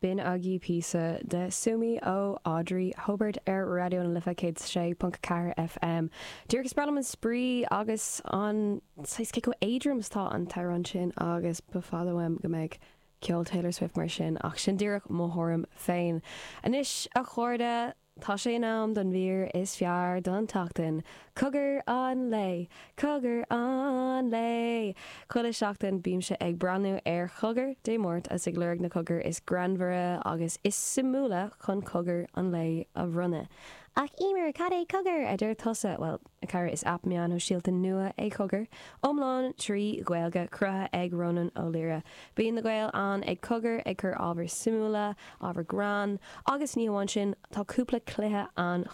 B'in agaibh píosa de Sue Me ó Audrey Hobert ar Raidió na Life 106.4 FM. Díreach is breá liom an spraoi agus an saghas cé chomh éadrom is atá an t-amhrán sin agus ba fada uaim go mbeidh ceol Taylor Swift mar sin ach sin díreach mo thuairim féin. Anois a chairde, Tá sé in am don mhír is fearr don tseachtain, Cogar an Lae! Cogar an Lae! Chuile sheachtain bímse ag breathnú ar chogar Dé Máirt agus ag lorg na cogair is greannmhaire agus is suimiúla chun Cogar an Lae a bhronnadh. Ach Emer, cad é Cogar? a deir tusa. Bhuel, a chara, is aip meáin shóisialta nua é Cogar, iomlán trí Ghaeilge, cruthaithe ag Rónán Ó Laoire. Bíonn na Gaeil ann ag Cogar ag cur ábhar suimiúla, ábhar greann, agus ní hamháin sin, tá cúpla cluiche ann.